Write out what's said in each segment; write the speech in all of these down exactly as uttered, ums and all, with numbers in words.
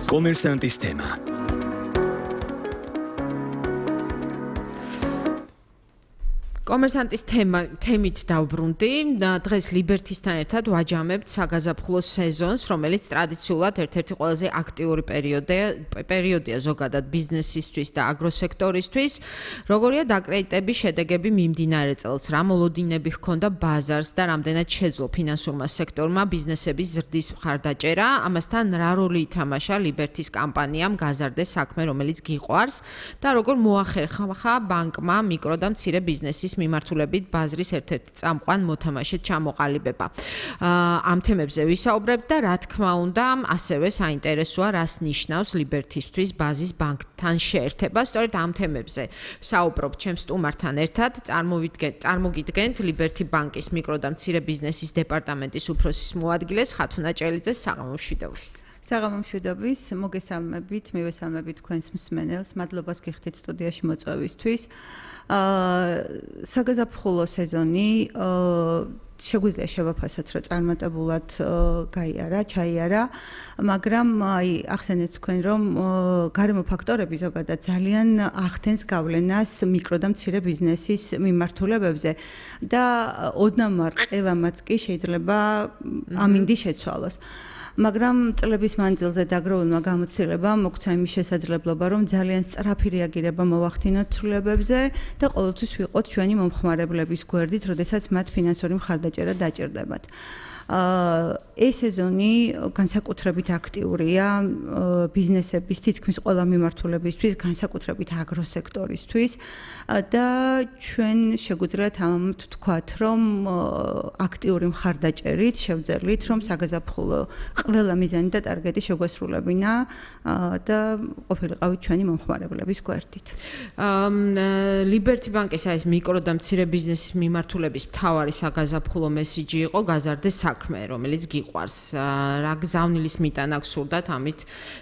კომერსანტის თემა. კომერსანტის თემა თემით დავბრუნდი. დღეს ლიბერთისთან ერთად ვაჯამებთ საგაზაფხულო სეზონს, რომელიც ტრადიციულად ერთ-ერთი ყველაზე აქტიური პერიოდია, პერიოდია ზოგადად ბიზნესისთვის და აგროსექტორისთვის. როგორია დაკრედიტების შედეგები მიმდინარე წელს, რა მოლოდინები ჰქონდა ბაზარს და რამდენად შეძლო ფინანსურმა სექტორმა ბიზნესების ზრდის მხარდაჭერა, ამასთან რა როლი ითამაშა ლიბერთის კამპანიამ გაზარდეს საქმე, რომელიც გიყვარს და როგორ მოახერხა ბანკმა მიკრო და მცირე ბიზნესის მიმართულებით ბაზრის ერთ-ერთი წამყვან მოთამაშედ ჩამოყალიბება. ამ თემებზე ვისაუბრებთ და რა თქმა უნდა, ასევე საინტერესოა, რას ნიშნავს ლიბერთისთვის ბაზის ბანკთან შეერთება. სწორედ ამ თემებზე ვსაუბრობ ჩემ სტუმართან ერთად. წარმოგიდგენთ ლიბერთი ბანკის მიკრო და მცირე ბიზნესის დეპარტამენტის უფროსის მოადგილეს ხათუნა ჭელიძეს. საღამომშვიდობის. საღამომშვიდობის, მოგესალმებით, მივესალმებით თქვენს მსმენელს. მადლობას გიხდით სტუდიაში მოწვევისთვის. აა საგაზაფხულო სეზონი აა შეგვიძლია შევაფასოთ, რომ წარმატებულად გაიარა, ჩაიარა, მაგრამ აი ახსენეთ თქვენ, რომ გარემო ფაქტორები ზოგადად ძალიან ახდენს გავლენას მიკრო და მცირე ბიზნესის მიმართულებებზე და ოდნავ ყევამაც კი შეიძლება ამინდი შეცვალოს. მაგრამ წლების მანძილზე დაგროვილმა გამოცდილებამ მოგცა იმის შესაძლებლობა, რომ ძალიან სწრაფი რეაგირება მოვახდინოთ ცვლილებებზე და ყოველთვის ვიყოთ ჩვენი მომხმარებლების გვერდით, როდესაც მათ ფინანსური მხარდაჭერა დაჭირდებათ. ეს სეზონი განსაკუთრებით აქტიურია ბიზნესების თითქმის ყველა მიმართულებისთვის, განსაკუთრებით აგროსექტორისთვის და ჩვენ შეგვიძლია თამამად ვთქვათ, რომ აქტიური მხარდაჭერით შევძელით, რომ საგაზაფხულო ყველა მიზანი და ტარგეტი შეგვესრულებინა და ყოფილიყავით ჩვენი მომხმარებლების გვერდით. ლიბერთი ბანკის ეს მიკრო და მცირე ბიზნესის მიმართულების მთავარი საგაზაფხულო მესიჯი იყო გაზარდეს საქმე, რომელიც გიყვარს. რა გზავნილის მიტანა გსურდათ ამით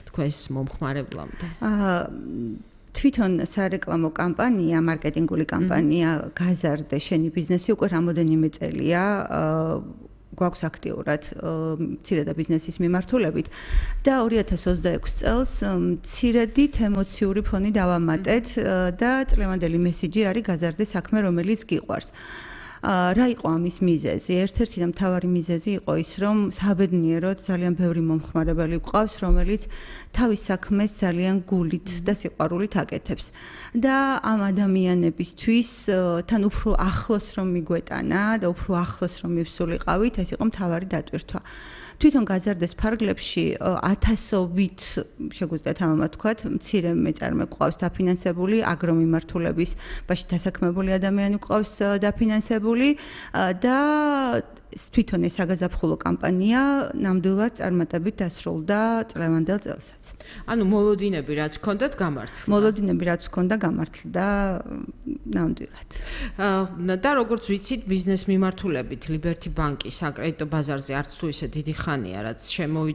თქვენს მომხმარებლამდე? აა თვითონ სარეკლამო კამპანია, მარკეტინგული კამპანია გაზარდე შენი ბიზნესი უკვე რამოდენიმე წელია გვაქვს აქტიურად მცირე და ბიზნესის მიმართულებით და ორი ათას ოცდაექვსი წელს მცირედით ემოციური ფონი დავამატეთ და წლევანდელი მესიჯი არის გაზარდე საქმე, რომელიც გიყვარს. რა იყო ამის მიზეზი? ერთ-ერთი და მთავარი მიზეზი იყო ის, რომ საბედნიეროდ ძალიან ბევრი მომხმარებელი გვყავს, რომელიც თავის საქმეს ძალიან გულით და სიყვარულით აკეთებს. და ამ ადამიანებისთვის თან უფრო ახლოს რომ მიგვეტანა და უფრო ახლოს რომ მივსულიყავით, ეს იყო მთავარი დატვირთვა. თვითონ გაზარდეს ფარგლებში ათასობით შეგვიძლია თამამად თქვათ, მცირე მეწარმე გვყავს დაფინანსებული, აგრომიმართულების ბაში დასაქმებული ადამიანი გვყავს დაფინანსებული და თვითონ ეს საგაზაფხულო კამპანია ნამდვილად წარმატებით დასრულდა წლევანდელ წელსაც. ანუ მოლოდინები რაც ჰქონდათ გამართლდა. მოლოდინები რაც ჰქონდა გამართლდა ნამდვილად. და როგორც ვიცით, ბიზნეს მიმართულებით ლიბერთი ბანკის საკრედიტო ბაზარზე არც თუ ისე დიდი ხანია, რაც შემოვიდა